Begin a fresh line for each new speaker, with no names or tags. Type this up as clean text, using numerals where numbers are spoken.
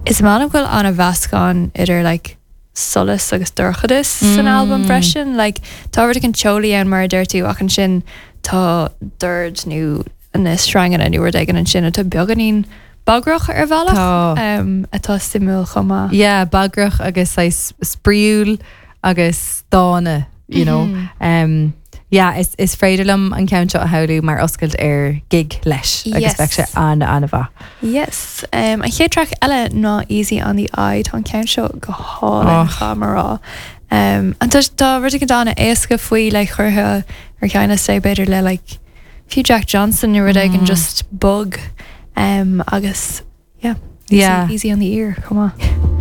Is maith liom go bhfuil an-mheascán idir like solas agus dorchadas san albam freisin. Like tá rud éigin teolaí ann mar a deir tú ach ansin tá dord nó na sreanganna nó rud éigin ansin atá beagáinín bagrach ar bhealach
Tá.
um, atá suimiúil chomh maith.
Yeah, bagrach agus saghas spraíúil agus dána, you know. Um, yeah, is, is féidir liom an ceann seo a shamhlú mar oscailt ar gig leis agus bheadh sé
Yes.
an an-mhaith.
Yes. Um, an chéad track eile ná Easy on the Eye, tá an ceann seo go hálainn
Oh.
caithfidh mé a rá. Um, an tá, tá rud éigin an-éasca faoi like, curtha ar cheann é b'fhéidir le like, fiú Jack Johnson nó rud éigin just bog um, agus yeah, easy,
Yeah.
easy on the ear chomh maith.